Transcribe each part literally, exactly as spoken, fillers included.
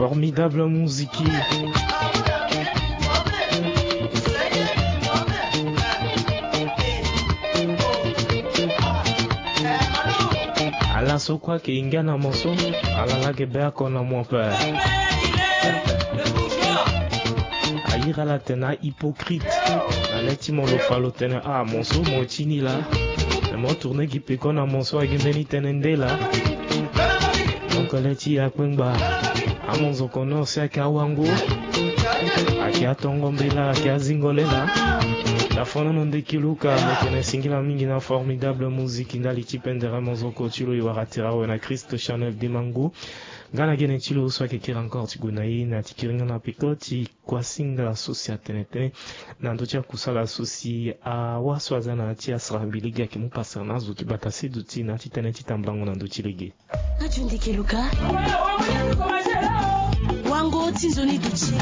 Formidable musique. Ala so kue ayeke hinga na mo so, ala laa ayeke be oko na mo ape. Ayeke ala tene ahypocrite. Na le ti mo lo fa lo tene ah, mo so mo ti ni laa. Me mo tourne gi peko na mo so ayeke mbeni tënë nde laa. Donc le ti akpengba, amonzoko nord si ayeke awango, ayeke atongo mbela, ayeke azingo lela. Lafonono ndeki Luka, mbi tene singila mingi na formidable musique ndali ti pendere monzoko ti lo. E wara tira awe na Christ Chanel Dimangu. Nga na gene ti lo so ayeke kiri encore ti gue na ye na ti kiri nga na peko ti kuasinga so si atene tënë na ndö ti akusala so si awa so aza na ya ti asara mbi lege ayeke mu pasara na azo ti bata se duti na ya ti tënë ti tambulango na ndö ti lege. Radio Ndeke Luka. Wango ti nzoni duti.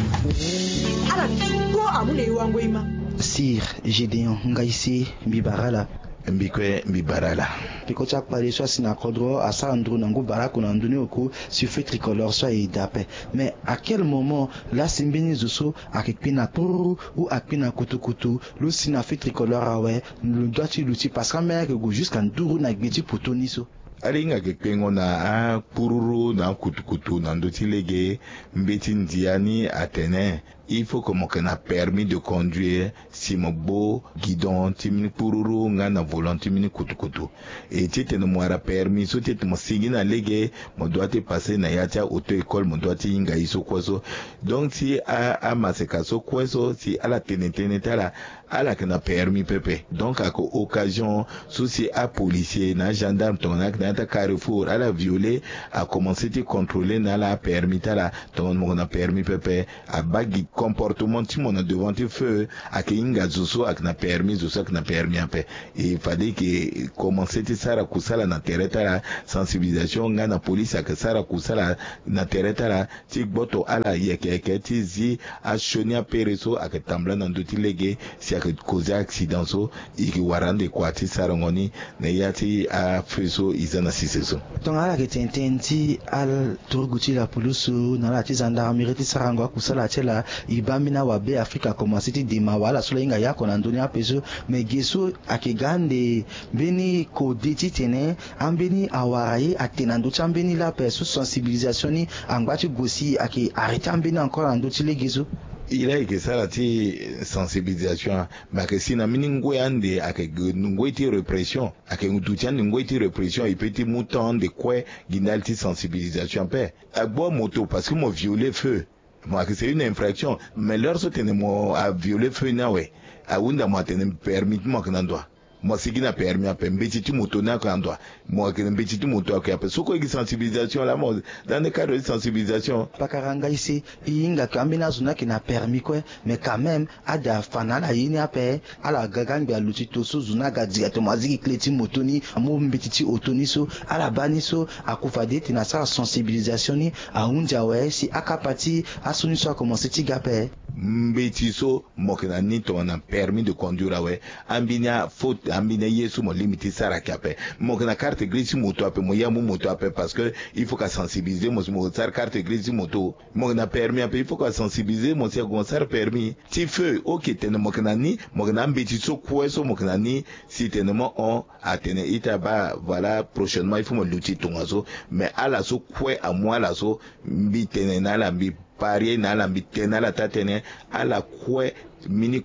Ala duti kpo amu na e wango e ma. Sir Gédéon, ngai se mbi bara ala. Mbi kue mbi bara ala. Peko ti akpale so asi na kodro asara nduru na ngu baraku na ndö ni oko si feu tricolore so aye daa ape. Mais à quel moment laa si mbeni zo so ayeke kpe na kpururu ou akpe na kutukutu, lo si na feu tricolore awe, lo dua ti luti parce que ambeni ayeke gue jusqu'à nduru na gbe ti poto ni so. Ala hinga ayeke kpengo na akpururu na akutukutu na ndö ti lege. Mbeti ndia ni atene il faut que mo yeke na permis de conduire si mo gbo guidon ti mbeni kpururu nga na volant ti mbeni kutukutu. E titene mo wara permis so titene mo sigi na lege, mo doit ti passer na ya ti a-auto-école, mo doit ti hinga ye so kue so. Donc si a, amaseka so kue so si ala tene tënë ti ala, ala yeke na permis pepe. Donc ayeke occasion so si apolicier na agendarme tongana ayeke na ya ti acarrefour ala violer, akomanse ti contrôler na ala apermis ti ala tongana mo yeke na permis pepe. Abaa gi comportement ti mo na devant ti feu, ayeke hinga zo so ayeke na permis, zo so ayeke na permis ape. E fade e yeke komanse ti sara kusala na tere ti ala, sensibilisation nga na police ayeke sara kusala na tere ti ala ti gboto ala yeke yeke ti zi asioni apere so ayeke tambula na ndö ti lege si ayeke causer accident so. E yeke wara ande kua ti sarango ni na ya ti afeu so e za na sese so. Tongana ala yeke tene tënë ti ala turugu ti lapulusu na ala ti gendarmerie ti sarango akusala ti ala, e baa ambeni awabe Afrika akomanse ti dema wala so lahinga ye oko na ndö ni ape so. Me ge so ayeke ga ande mbeni kode titene ambeni awara ye atene na ndö ti ambeni laa ape so sensibilisation ni angba ti gue si ayeke arrêter ambeni encore na ndö ti lege so. E laa e yeke sara ti sensibilisation, me ayeke si na mbeni ngoi ande ayeke ngoi ti répression. Ayeke duti ande ngoi ti répression, e peut ti mu temps ande kue gi ndali ti sensibilisation ape. Agbu amoto parce que mo violer feu. Mo ayeke c'est une infraction. Mais l'heure so tene mo avioler feu ni awe, ahunda mo atene permis ti mo ayeke na ndo wa? Mo asigi na permis ape, mbeti ti moto ni ayeke na ndo wa? Mo ayeke na mbeti ti moto ayeke ape. So kue e gi sensibilisation laa mo dans le cadre ti sensibilisation. Pakara ngai se e hinga ke ambeni azo ni ayeke na permis kue. Mais quand même ade afa na ala ye ni ape. Ala ga ga angbi aluti to so zo ni aga directement azi gi clé ti moto ni, amu mbeti ti oto ni so. Ala baa ni so, aku fade tene asara sensibilisation ni ahunzi awe si akapa ti asioni so akomanse ti ga ape. Mbeti so mo yeke na ni tongana permis de conduire awe, ambeni afaute, ambeni aye so mo lingbi ti sara ayeke ape. Mo yeke na carte grise ti moto ape, mo ye amu moto ape parce que il faut ka sensibiliser mo si mo sara carte grise ti moto. Mo yeke na permis ape, il faut ka sensibiliser mo si ako mo sara permis ti feu. Ok, tene mo yeke na ni, mo yeke na ambeti so kue so mo yeke na ni. Si tene mo hon atene ita baa, voilà, prochainement il faut mo luti tongaso. Mais ala so kue amu ala so, mbi tene na ala, mbi parier na ala, mbi tene na ala taa tënë, ala kue mbeni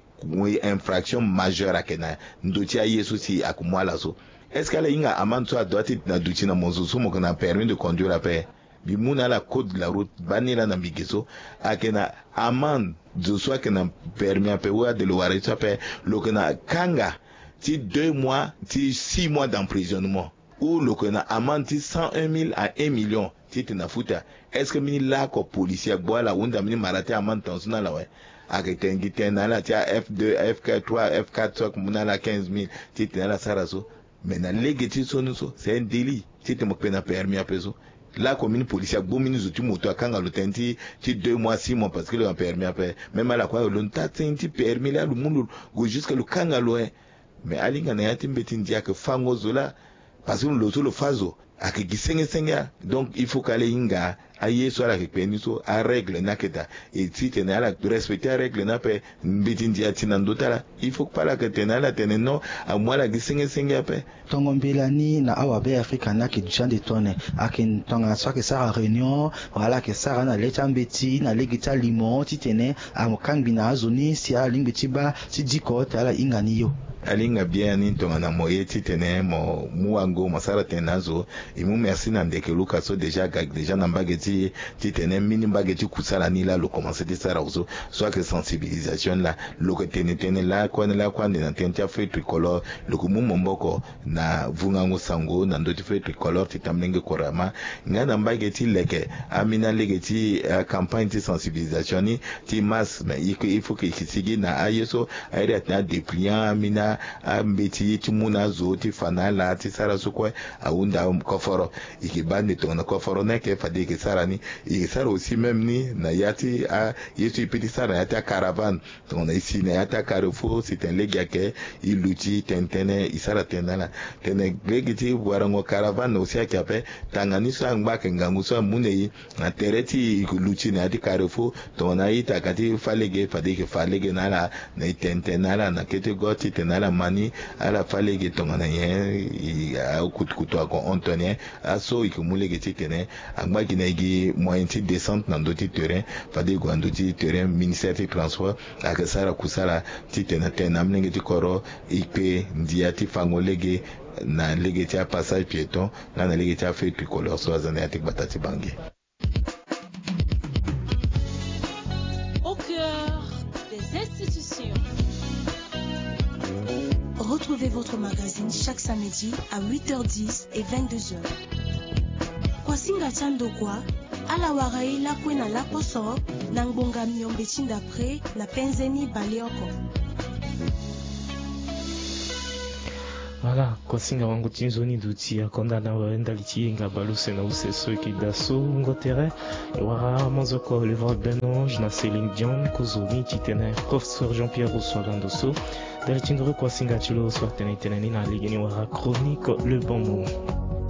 infraction majeure ayeke na ndö ti aye so si ayeke mu ala so. Est-ce que ala hinga amende so adoit ti na duti na mo zo so mo yeke na permis de conduire ape? Mbi mu na ala code de la route, baa ni laa na mbi ge so. Ayeke na amende zo so ayeke na permis ape, ou ade lo wara ye so ape, lo yeke na kanga ti deux mois ti six mois d'emprisonnement, ou lo yeke na amende ti cent un mille à un million titene afuta. Est-ce que mbeni laoko policier agbu ala ahunda mbeni mara ti amende tongaso na ala awe? Ayeke tene gi tënë na ala ti a F deux, F trois, F quatre so ayeke mu na ala quinze mille titene ala sara so. Mais na lege ti sioni so c'est un délit titene mo kpe na permis ape so. Laoko mbeni policier agbu mbeni zo ti moto akanga lo tënë ti, ti deux mois, six mois parce que lo na permis ape. Même ala kue lo taa tënë ti permis laa lo mu lo gue jusque lo kanga lo, eh. Mais ala hinga na ya ti mbeti ndia ayeke fango zo laa. Parce que lo so lo fâ zo ayeke gi senge senge. Donc il faut ka ala hinga aye so ala yeke kpe ni so, arègle ni ayeke daa. E titene ala respecter arègle ni ape. Mbeti ndia ti na ndö ti ala, il faut kpale ayeke tene ala tene non, amu ala gi senge senge ape. Tongo mbela ni na awabe afrika ni ayeke duti ande tone. Ayeke tongana so ayeke sara réunion, wala ala yeke sara na le ti ambeti na lege ti alimo titene akangbi na azo ni si ala lingbi ti baa ti diko te ala hinga ni yo. Ala hinga bien ni tongana mo ye titene mo mu wango mo sara tene na azo. E mu merci na ndeke luka so déjà aga déjà na mbage ti titene mbeni mbage ti kusala ni laa lo commencer ti sara azo. So ayeke sensibilisation ni laa, lo yeke tene tënë lakue ni lakue ande na tënë ti afeuille tricolore. Lo yeke mu maboko na vungango sango na ndö ti feuille tricolore ti tamlenge korama. Nga na mbage ti leke ambeni alege ti campagne ti sensibilisation ni ti masse, mais il faut ke e yeke sigi na aye so aye iri atene adépliant ambeni ambeti ti mu na azo ti fa na ala ti sara so kue. Ahunda koforo. E yeke baa nde tongana koforo ni ayeke fade e yeke sara ni. E yeke sara aussi même ni na ya ti aye so e peut ti sara na ya ti acaravane. Tongana e si na ya ti acarrefour si tene lege ayeke, e luti tene tënë e sara tene na ala. Tene lege ti warango caravane aussi ayeke ape. Tanga ni so angba ayeke ngangu so amu na e na tere ti e yeke luti na ya ti carrefour. Tongana a-ita ka ti fâ lege fade e yeke fa lege na ala na e tene tënë na ala na kete go titene ala ma ni. Ala fâ lege tongana nyen akutukutu ako hon tongana nyen. Aso e yeke mu lege titene angba gi na e gi moyen ti descente na ndö ti terrain. Fade e gue na ndö ti terrain ministère ti transport ayeke sara kusala titene atene na amolenge ti kodro e kpe ndia ti fango lege na lege ti apassage piéton nga na lege ti afeuille tricolore so aza na ya ti gbata ti Bangui. Au cœur des institutions. Retrouvez votre magazine chaque samedi à huit heures dix et vingt-deux heures. Kuasinga ti andokua, ala wara e lakue na laposo na ngbonga miombe ti ndapre na penze ni baleoko. Voilà, kuasinga wango ti nzoni duti akonda na awe ndali ti yenga baleuse na use so e yeke daa so wungo tere. E wara amazoko Oliver Benange na Céline Dion, kozo ni titene professeur Jean-Pierre Roussois Lando so. Ndali ti nduru kuasinga ti lo so atene e tene ni na lege ni wara chronique Le Bon Mot.